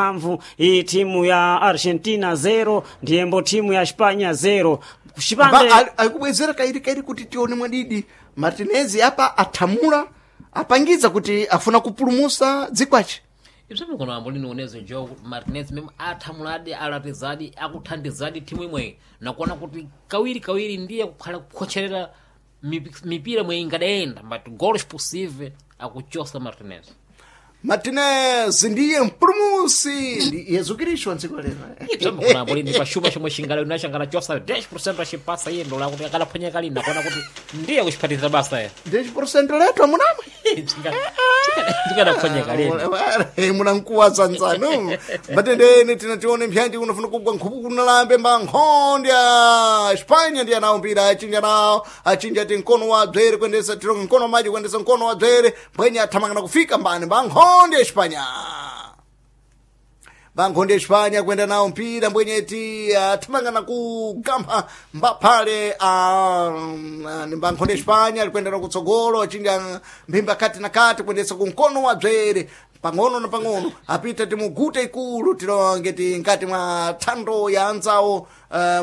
Mphamvu iyi timu ya Argentina 0 ndiyembo timu ya Espanya 0 kuchipande Akubwezera kairi kairi kuti tione mwadidi Martinez apa athamula apangiza kuti afuna kupulumusa dzikwace. Ibzomwe kuno ambo linonezo jo kuti Martinez meme athamuladi, alatizadi, akuthandizadi timu imweyi nakuona kuti kawiri kawiri ndiye kukhala kukhocherera mipira mwe ingadayenda, but goals possível akuchosa Martinez. Martinez ndiye mpulumusi ndi Yesu Kristu wa dziko lero. Ibzomwe kuno ambo lini pachuma chomwe chingala nachangala chosa 10% achipasa iye ndola kuti akalaphwanya lini nakuona kuti ndiye kuchiphatiza basa ya 10% letu amunamwe. Chingadaphwanyeka lini. Munankuwa sanzanu matendene tinatione mpyanji unafuna kugwa nkhupu kunalambe mba nkhondya Espanya ndiye anawo mpira achinja nawo achinja ti mkono wa dzere kuendesa tironge mkono wa maji kuendesa mkono wa dzere mbwenye athamangana kufika mbani mba nkhondya Espanya, bankhonde Espanya kwenda nawo mpira mbwenyeti athamangana kugampha mbaphale bankhonde Espanya alikwenda nawo kutsogolo achinja mphimba kati na kati kuendesa kumkono wa dzere pang'ono na pang'ono apita timugute ikulu tilonge ti nkati mwa thando ya anzawo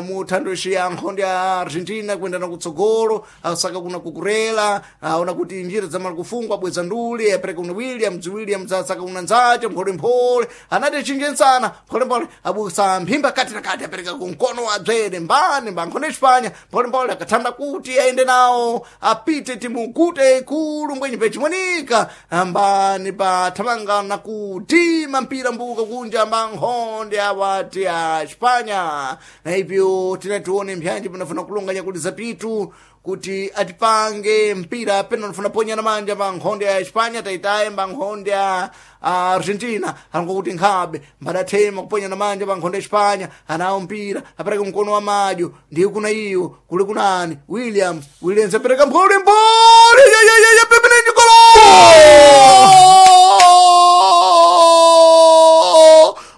mu thando ici ya nkhonde ya Argentina kuenda na kutsogolo asaka kuna kukurela aona kuti njira zamala kufungwa bweza nduli apereka kuna Williams, Williams asaka kuna nzace mpholemphole anati achinje nsana mpholemphole abusa mphimba kati na kati apereka kumkono wa dzere mbani mba nkhonde Espanya mpholemphole akathanda kuti aende nawo apite timugute ikulu mbwenye pechimonika mbani pathamanga na kutima mpira mbuka kunja mba nkhonde awati a Espanya. Na ipyo tinatione mpyanji panafuna kulonganya kuti zapitu kuti atipange mpira pena nafuna ponyana manja mba nkhonde ya Espanya taitaye mba nkhonde ya Argentina alonga kuti nkhabe mbadathema kuponyana manja mba nkhonde ya Espanya anawo mpira apereka mkono wa madyo ndiye kuna iyo kuli kunani Williams, Williams apereka mphole mphole yeyeyeye pepenenji golo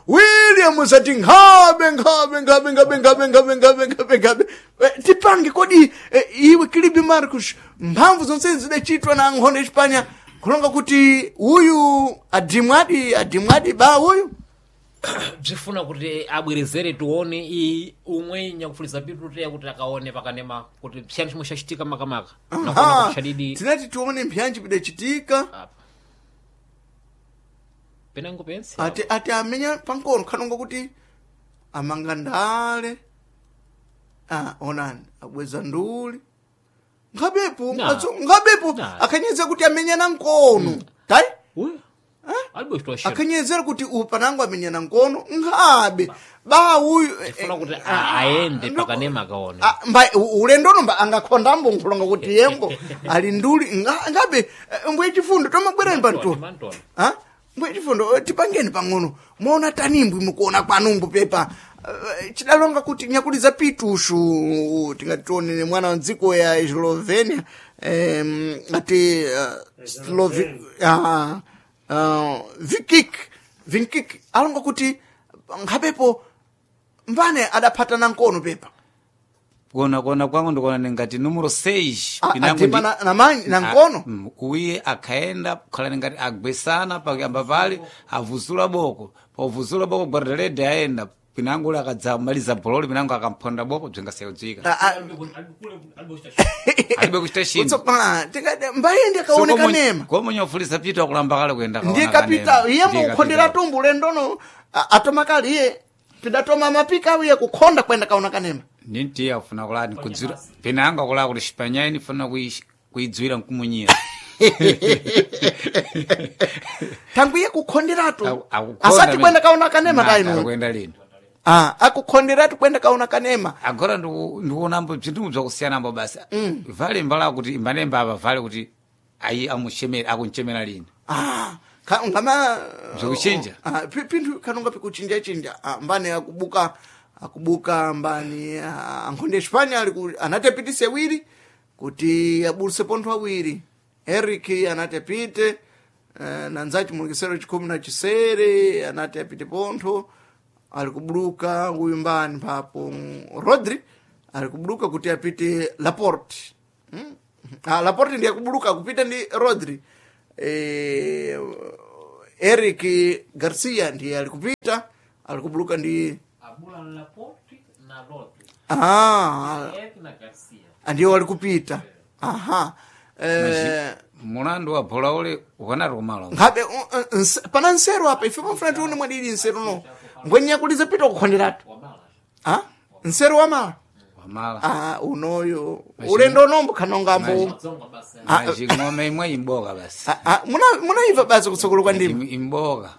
Williams ati nkhabe nkhabe nkhabe nkhabe nkhabe nkhabe nkhabe nkhabe nkhabe. Tipange kodi iwe Kilibi Marcus mphamvu zonse zidachitwa na nkhonde ya Espanya kulonga kuti uyu adimwadi adimwadi ba uyu Bzifuna kuti abwerezere tione i umwe nyakufuliza pitu teya kuti akaone pakanema kuti chiyani chimwe chachitika makamaka nakuona Aha, kuti chadidi tinati tione mpyanji pidachitika. Apa penango pense Ati amenya pankono khanonga kuti amanga ndale onani abweza nduli nkhabepo. Na. Nkhabepo. Na. Akhanyezera kuti amenyana nkono tayi. Uyu alibe kuchitoshera. Akhanyezera kuti upanango amenyana nkono nkhabe ba uyu Tifuna kuti aende pakanema akaone. Mba ulendono mba angakhondambo nkhulonga kuti yembo ali nduli ngabe mbwe chifundo tomabwerani panto. Mantona. Ha? Mbwe chifundo tipangeni pang'ono mwaona tanimbwi mukuona kwanumbu pepa. Chidalonga kuti nyakuliza pitushu tingatione mwana wa dziko ya Slovenia ati Vikik Vinkik alonga kuti nkhapepo mbane adaphatana nkono pepa. Kuona kuona kwangu ndikuona ningati numero 6. Atima na nkono. Uye akhaenda kukhala ningati agwesana pakuyamba pale avuzula boko pauvuzula boko guardarede aenda pinango ule akadzamaliza bololi pinango akamphonda boko bzingasayudzika. Alibe kuchita chinthu. Mbaye ndi akaoneka nema. Komonye ufulisa pito akulamba kale kuyenda Ndiye kaona kapita kanema. iye Ndiye mukhondera kapita. tumbu lendono atoma kale iye pidatoma mapika iye kukhonda kwenda kaona kanema. Ninti afuna kulani kudzwira pinango akulaa kuti xipanyai nifuna kuidzwira nkumunyira. Tangu iye kukhonderatu Akukhonda asati amene- kwenda kaona kanema Na, taino. akuenda lino. Akukhonderatu kwenda kaona kanema. Agora ndikuonambo bzinthu bzakusiyanambo basi vale mbala kuti imbanemba apa vale kuti ayi amuchemera akunchemera lini. Ngama Bzikuchinja? Pinthu kanonga pikuchinja chinja. Mbani akubuka akubuka mbani ankhonde Espanya ali anati apitise awiri kuti abuluse pontho awiri Eric anati apite nanzachi mulekesero chikhumi na chisere anati apite pontho ali kubuluka uyu mbani papo Rodri ali kubuluka kuti apite Laporte. Laporte ndiye akubuluka kupita ndi Rodri. Eric Garcia ndiye alikupita alikubuluka ndi Abula Laporte na Rodri. ah, Eric na Garcia. ndiwo alikupita aha eh, Mulandu wa bola ule ukanati kumalo. nkhabe pana nseru apa ife pamfuna tione mwadili nseru no ngwenya kuliza pita kukhonderatu ah nseru wamala Wamala. ah unoyo ulendo nombo khanongambo Zonga basi. Majing'ome imwe imboka basi. Ah, ah, munaiva basi kutsogolo kwa ndima Imboka.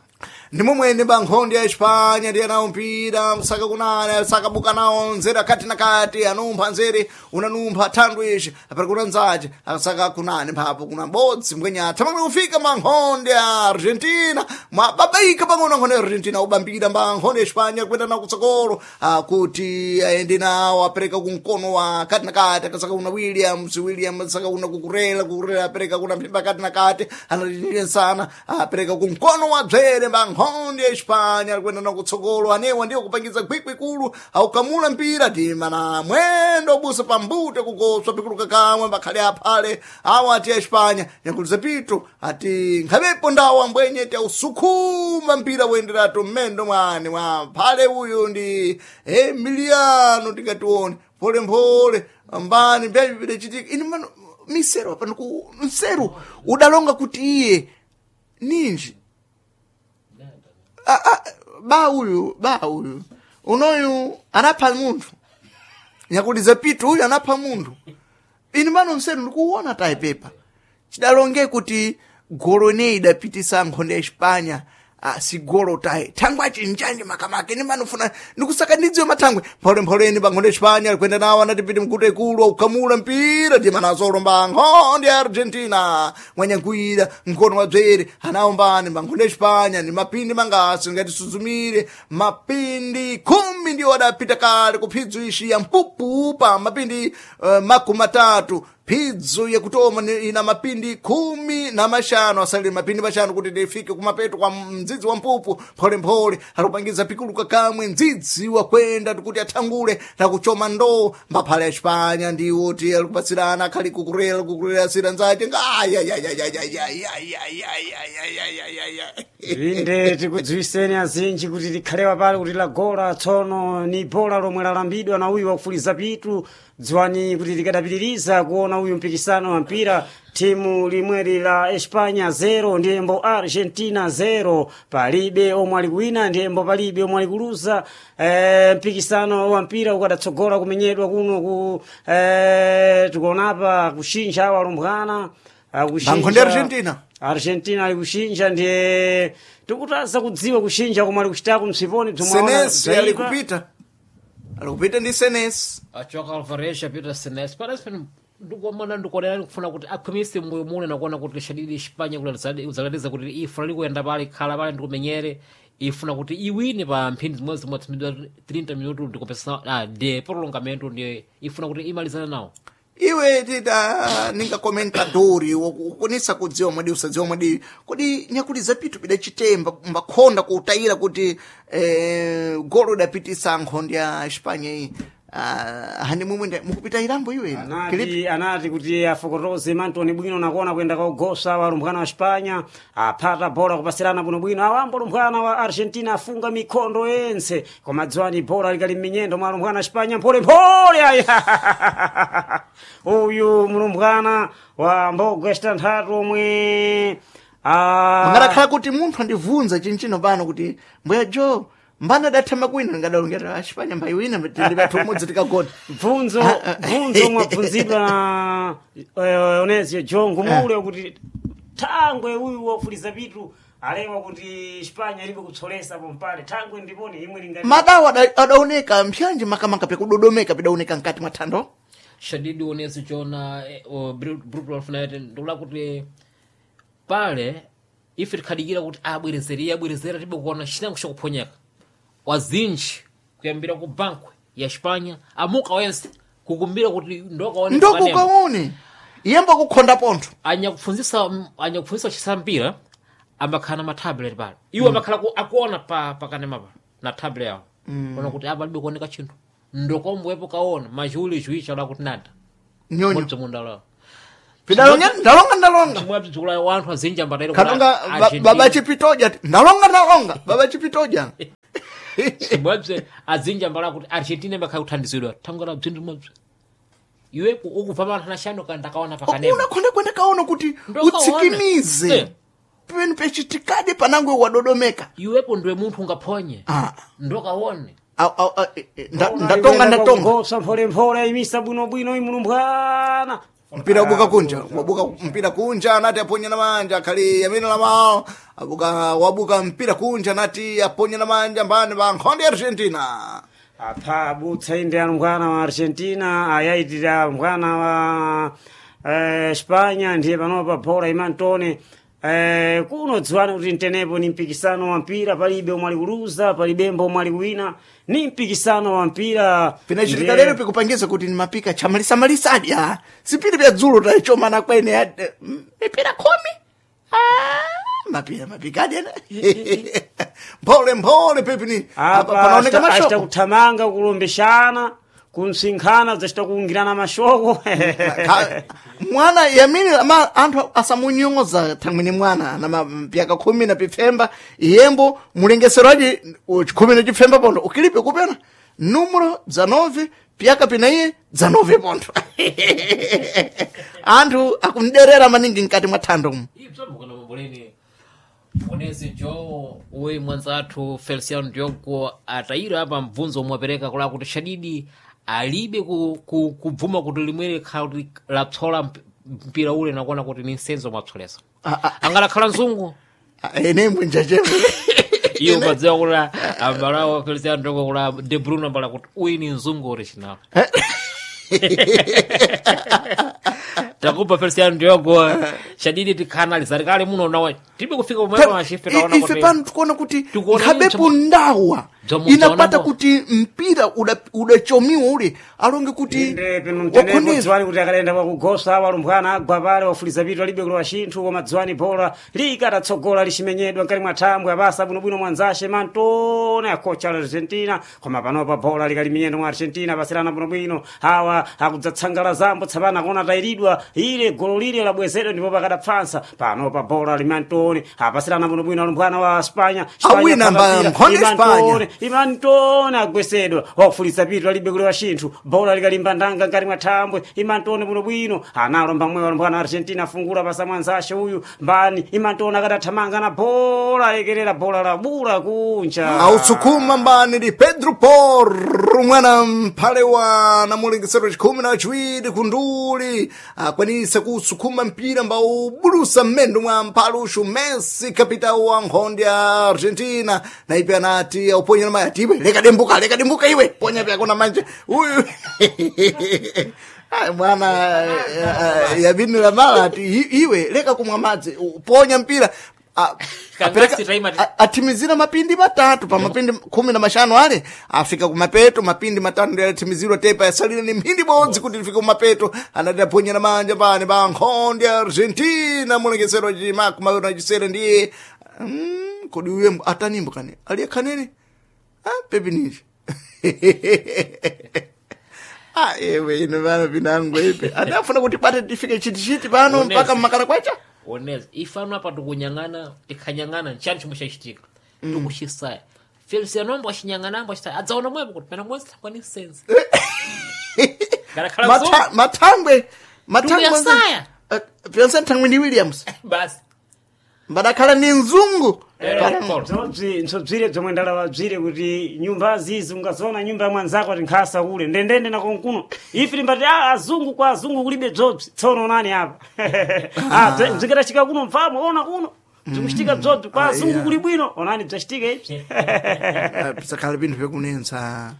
ndimo mwene bankhondi ya Espanya ndiye nawo mpira msaka kunana sakabuka nawo nzere akati na kati anumpha nzere unanumpha thandwe ishi apari kuna nzace akasaka kunani mphapo kuna bodzi mbwenya thamangana kufika mankhondi ya Argentina mwababaika pang'ono nkhondi ya Argentina ubambira mba nkhondi ya Espanya kwenda nawo kutsogolo akuti aende nawo apereka kumkono wa kati na kati akasaka kuna Williams Williams asaka kuna kukurela kukurela apereka kuna mphimba kati na kati anatinie sana apereka kumkono wa dzere mba nkhondi ya Espanya alikwenda nawo kutsogolo anewa ndiwo kupangiza kwikwi kulu aukamula mpira tima na mwendo busa pambute kugoswa pikuluka kamwe mbakhale aphale awa ati ya Espanya nyakuliza pito ati nkhabepo ndawo ambwenye ti ausukuma mpira woyenderatu mmendo mwane mwa phale uyu ndi Emiliano tingatione mpholemphole mbani mbyavi vidachitika ini mano misero apa niku nseru udalonga kuti iye ninji ba uyu ba uyu unoyu anapha munthu nyakuliza pitu uyu anapha munthu ini mano mseru ndikuwona tayi pepa chidalonge kuti golo ineyi idapitisa nkhonde ya Espanya ah, si golo tayi thangwe achinjanji makamaka ini mano funa ndikusaka ndidziwe mathangwe mpholepholeni pa nkhonde ya Espanya alikwenda nawo anatipiti mkuta ikulu aukamula mpira ndimanazolomba nkhonde ya Argentina mwanyankwira mkono wa dzere anaombani pa nkhonde ya Espanya ndi mapindi mangasi ngati suzumire mapindi 10 ndiwo adapita kale kuphidzo ishi ya mpupu pa mapindi 30 phidzo yakutoma ina mapindi 15 asalire mapindi mashanu kuti ndifike kumapeto kwa mdzidzi wa mpupu pholemphole alikupangiza pikuluka kamwe mdzidzi wakwenda tikuti athangule nakuchoma ndoo mbaphale ya Espanya ndiwo ti alikupatsirana akhali kukurela kukurela sira nzace ngayayayayayayayayayayayayaya Inde tikudziwiseni azinji kuti likhalewa pale kuti lagola tsono ni bola lomwe lalambidwa na uyu wakufuliza pitu dziwani kuti likadapitiriza kuona uyu mpikisano wa mpira timu limweri la Espanya 0 ndiyembo Argentina 0 palibe omwe alikuwina ndiyembo palibe omwe alikuluza mpikisano wa mpira ukadatsogola kumenyedwa kuno ku tikuonapa kushinja awo alumbwana akushinja- Bankhonde Argentina. Argentina ali kushinja ndiye tikutaza kudziwa kushinja komwe ali kuchitako msiponi Senesi alikupita alikupita ndi Senesi Achoka Alvarez apita Senesi. Parece ndikomana ndikonera kufuna kuti akhwimise mbuyo mune nakuona kuti shadidi Espanya kuzalatiza kuti ifuna likuyenda pale khala pale ndikumenyere ifuna kuti iwine pa mphindi zimwe zimwe 30 minuto ndikupesa de prolongamento ndiye ifuna kuti imalizane nawo iwe tita ninga komentadori wokunisa kudziwa mwadi usadziwa mwadi kodi nyakuli zapitu pidachitemba mbakhonda kuutayira kuti golo idapitisa nkhondo ya Espanya iyi ah, hani mumwe mukupita irambo iwe Kilipi? anati, anati kuti afokotoze mantoni bwino nakuona kuyenda kaugosa wa alumbwana wa Espanya aphata bola kupasirana bwinobwino awambo alumbwana wa Argentina afunga mikhondo yense koma dziwani bola likali m'minyendo mwa alumbwana wa Espanya mpholemphole aya uyu mlumbwana wa mbogo yacitanthatu omwe ah, Mangarakhala kuti munthu andibvunza chinchino pano kuti mbuya jo mbana adathama kwina ndingadalongera Espanya mbayiwina ndipathu umodzi tikagona bvunzo bvunzo mwabvunzidwa na Onesio Jongo mule kuti thangwe uyu wafuliza pitu alewa kuti Espanya ilibe kutsolesa pompale thangwe ndiponi imwe lingati madawo adaoneka mpyanji makamaka pekudodomeka pidaoneka mkati mwa thando shadidi onesi chona brutal alfunaite ndikula kuti pale ife tikhadikira kuti abwerezere iye abwerezera tibe kuona chinango chakuphonyeka wazinji kuyambira ku bankwe ya Espanya amuka wense kukumbira kuti ndokaone ndokukaone iyembo kukhonda pontho anyakufunzisa chisampira amakhala na matablet pale iwo amakhala akuona pa pakanema pa na tablet yawo ona kuti apa alibe kuoneka chinthu ndokombwepo kaona machiuli chiwicha la kuti nada nyonyo mudzi munda lawo Pidalonga ndalonga ndalonga. Chimwe wanthu azinji ambatayira Katonga baba chipitoja ati, ndalonga ndalonga baba chipitoja. Chimwabze azinji ambala kuti Argentina imakhala kuthandizidwa thangala bzinthu mwabze iwe ukubva panthu anashano kana ndakaona pakanema Unakhonda kwenda kaona kuti Ndokaona. utsikimize. Eh. Pamene pechitikadi panangwe wadodomeka. Iwepo ndiwe munthu ungaphonye. Ah. Ndokaone. Ndatonga ndatonga. Gosa mpholemphole imisa bwinobwino imulumbwana. Mpira wabuka kunja, wabuka mpira kunja anati aponya na manja akhali amene lamao abuka wabuka mpira kunja anati aponya na manja mbani pa nkhonde ya Argentina. Apha abutsa inde alumbwana wa Argentina ayayitira alumbwana wa Espanya ndiye panopa bola imantone kuno dziwani kuti mtenepo ni mpikisano wa mpira palibe omwe ali kuluza palibembo omwe ali kuwina ni mpikisano wa mpira. Pinachitika Ndiye- lero pikupangiza kuti ni mapika chamalisamalisadi ah. Sipiri vya dzulo tachomana kwene mipira 10. Ah, mapira mapikadi ena. Mphole mphole pepini. Apa apa panaoneka achita mashoko. kuthamanga kulombeshana kunsinkhana zacita kuungirana mashoko. Mwana yamini ama anthu asamunyoza thangwini mwana na mapyaka 10 na pipfemba iyembo mulengesero aji 10 na chipfemba pondo ukilipe kupena numero dza 9 pyaka pinaiye dza 9 pondo anthu akumderera maningi mkati mwa thando umu. Ibzambukana mamboleni onezi jo uwe mwanzathu Feliciano Diogo atayira apa mvunzo omwe apereka kula kuti shadidi alibe kubvuma kuti limwere khala kuti lapsola mpira ule nakuona kuti ni nsenzo mwapsolesa. Ah, ah. Angalakhala mzungu. Ah, ene mbwinja chemwe. Iye umadziwa kuti ambalawo Feliciano Diogo kula De Bruyne ambala kuti uyu ni mzungu original. Takupa Feliciano Diogo shadidi tikhanalizari kale muno nawe tibe kufika pomwepo achife taona ife kuti pano tikuona kuti Tikuona nkhabepo ndawa Bzomu- inapata bzoonambo. kuti mpira udachomiwa ule alonge kuti Inde pano mtenepo wakhondeza dziwani kuti akalenda pakugosa walumbwana agwa pale wafuliza pitu alibe kulowa chinthu koma dziwani bola likatatsogola lichimenyedwa mkati mwa thambwe apasa bwinobwino mwanzashe mantone akocha la Argentina koma panopa bola likali mwa Argentina pasirana bwinobwino awa akudzatsangala zambo tsapano akuona tayiridwa ile golo lile labwezedwa ndipo pakadapfansa panopa bola limantone apasirana bwinobwino alumbwana wa Spanya. Spanya Awina phata mba- mpira, nkhonde Imantone, Spanya. Imantone agwesedwa wafulisa pitu alibe kulewa chinthu bola likalimba ndanga ngati mwa thambwe Imantone bwinobwino analomba mwewa alumbwana Argentina afungula pasa mwanzashe uyu mbani Imantone akadathamanga na bola alekerera bola labula kunja. Ausukuma mbani ndi Pedro Porro mwana mphale wa namulengesero chikhumi na chiwiri kunduli akwanisa kusukuma mpira mbaubulusa mmendo mwa mphale uxu Messi kapitao wa nkhonde ya Argentina na ipe anati auponya na maya tiwe leka dembuka leka dembuka iwe ponya pyakona manje uyu. Ai, mwana yabini la mala ati iwe leka kumwa madzi uponya mpira Kangasi taima- atimizira mapindi matatu pa mapindi 15 ale afika kumapeto mapindi matatu ndiye atimizirwa tepa yasalira ni mphindi bodzi kuti lifike kumapeto anati aponyera manja pane pa nkhonde ya Argentina mulengesero chimakumi na chisere ndiye kodi uye atanimbo kani aliye khanene ah, pepi ninji. Ah, ewe ino vana vinangu ipe adafuna kuti bate tifike chitichiti pano Onesi. mpaka mmakala kwacha. Onezi ifano apa tikunyang'ana tikhanyang'ana nchani chomwe chachitika tikuchisaya Feliciano ambo achinyang'ana ambo achisaya adzaona mwepo kuti pena mwezi thangwa ni sense Ngalakhala mzungu. Mathangwe mathangwe Tukuyasaya. Pyonse thangwe ndi Williams basi mbadakhala ni mzungu Paul. Nsobzire bzomwe ndalawa bzire kuti nyumba zizi ungazoona nyumba ya mwanzako ati nkhasa kule ndendende nakonkuno ife timbati ah, azungu kwa azungu kulibe bzobzi tsono nani apa. Ah, bzikadachika kuno mfamo ona kuno bzikuchitika bzobzi kwa Ah, azungu yeah. kuli bwino onani bzachitika ibzi. Pisakhala pinthu pekunensa.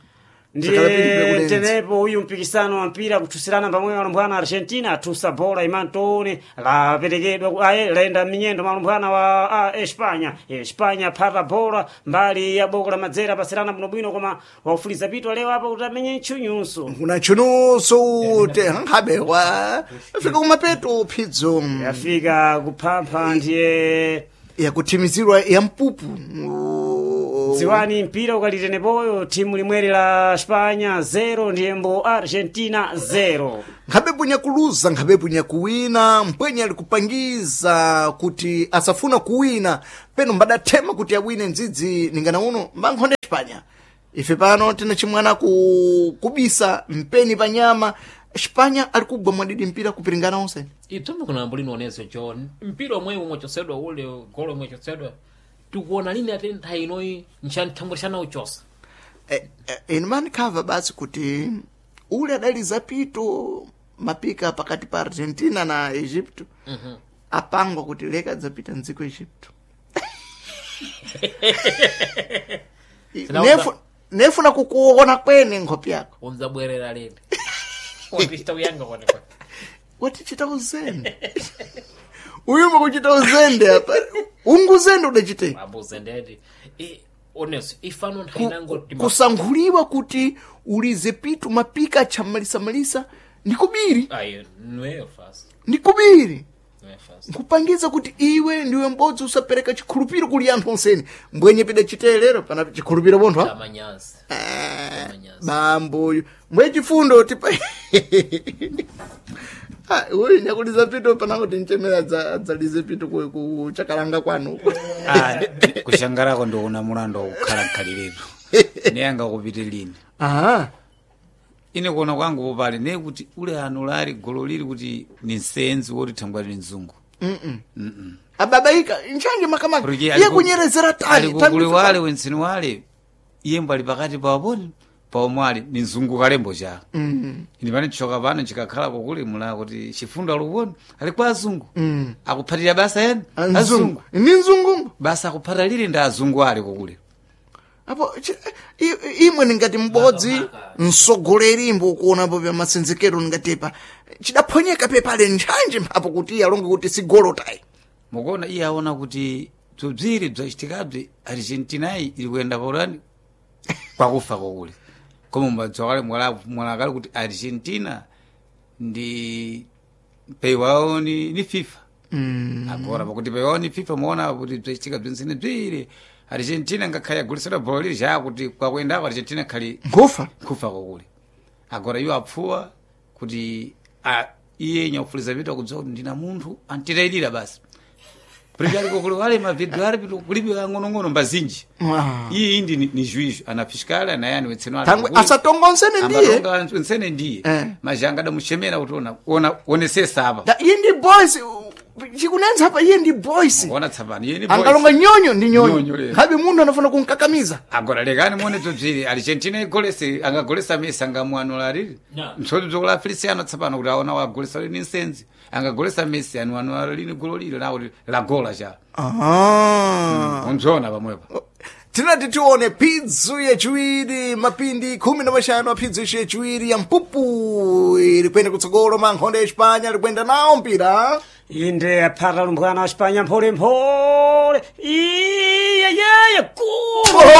Pisakhala pinthu Ndiye pekunensa. tenepo uyu mpikisano wa mpira kuthusirana pamwe alumbwana Argentina athusa bola Imantone laperekedwa aye laenda minyendo malumbwana wa Espanya. Espanya phata bola mbali ya boko la madzera pasirana bwinobwino koma waufuliza pitu alewa apo kuti amenye ntchunyunso. Kuna chunuso te nkhabe wa afika kumapeto phidzo Yafika kuphampha ndiye yakuthimizirwa ya mpupu. Dziwani mpira ukalitenepoyo timu limweri la Spanya 0 ndiyembo Argentina 0. Nkhabe punya kuluza, nkhabe punya kuwina, mpwenye alikupangiza kuti asafuna kuwina peno mbadathema kuti awine ndzidzi ningana uno mbankhonde Spanya. Ife pano tina chimwana kubisa mpeni pa nyama. Spanya alikugwa mwadidi mpira kupiringana onse. Itsombe kuna mbulino onezo John mpira omwe umwechosedwa ule golo omwechosedwa tikuona lini ati nthawi inoyi nchanthambwirishana uchosa. Inu manikhava basi kuti ule adali pito mapika pakati pa Argentina na Egypto. Apangwa kuti leka dzapita mdziko Egypto. Nefuna kukuona kwene nkhope yako. Unzabwerera lini watichita kuyanga konekone. Watichita uzende. Uyuma kuchita uzende apa. Unguzende udachite. Abuzendedi onezo ifano nthawi inango Kusankhuliwa kuti ulize pitu mapika chamalisamalisa ndi kubiri. Ayi nweyo fast. Ndi kubiri. Nweyo fast. Nkupangiza kuti iwe ndiwe mbodzi usapereka chikhulupiro kuli anthu onseni. Mbwenye pida chitelero pana chikhulupiro bonthu. Amanyazi. Amanyazi. Bamboyo mbwe chifundo tipa. Ah, uyu nyakuliza pito panango tinchemera adzalize pito ku chakalanga kwanu. Ah, kushangarako ndikuona mulando wakukhala nkhaliretu neyanga kupite lini. Aha. Ine kuona kwangu popali ne kuti ule anulali golo lili kuti ni nsenzi woti thangwali ni mzungu. Ababaika nchange makamaka. Porque Iye kunyerezera tani. alikukuli wale wensini wale iyembo ali pakati pawaponi paomwe ali ni mzungu kalembo cha. Ine pane choka pano chikakhala kukuli mula kuti chifundo alikuona ali kwa azungu. Akuphatira basa eni Azungu. Ni mzungumbo. Basa akuphata lili ndi azungu ali kukuli. Apo imwe ningati m'bodzi msogoleri mbo ukuonapo pya masenzekero ningatepa chidaphonyeka pepale ntchanje mphapo kuti iye alonge kuti sigolo tayi. Mukuona iye aona kuti bzobziri bzachitikabzi Argentinayi ili kuyenda paulani kwakufa kokuli. Koma mbadziwa kale mwalakale kuti Argentina ndi peiwawo ni FIFA. Agora pakuti peiwawo ni FIFA muona kuti bzachitika bzinsene bziri Argentina ngakhale yagulisira bhola lili chakuti kwakuyendako Argentina khali Nkufa. kufa kokuli. Agora iwo apfuwa kuti iye nyakufuliza vitu akudziwa kuti ndina munthu antitayilira basi. Porque ali kokuli wale mavideo ali pitu kulibe ang'onong'ono mbazinji. Iyi indi ni juizo ana fiscal ana yani wetseno ali Tangwe kukuli. asatonga onsene ndiye. Ambatonga onsene ndiye. Eh. Majanga adamuchemera kuti ona onesesa apa. Da, iye ndi boys chikunenza apa iye ndi boys. Ona tsapano iye ni boys. Angalonga nyonyo ndi nyonyo. Nyonyo lero. Nkhabe munthu anafuna kunkakamiza. Agora lekani muone bzobziri Argentina igolese angagolesa Messi angamuanula lili. No. Mtsoti bzokula Feliciano tsapano kuti aona wagolesa lini nsenzi. Angagolesa Messi anuanula lini golo lili na kuti lagola cha. Ah. Unzona pamwepo. Tinati tione pidzu yachiwiri mapindi 15 a pidzu yachiwiri ya mpupu iri kuyenda kutsogolo mankhonde ya Espanya ali kuyenda nawo mpira. Inde aphata lumbwana wa Spanya mpholemphole. Iyeyeye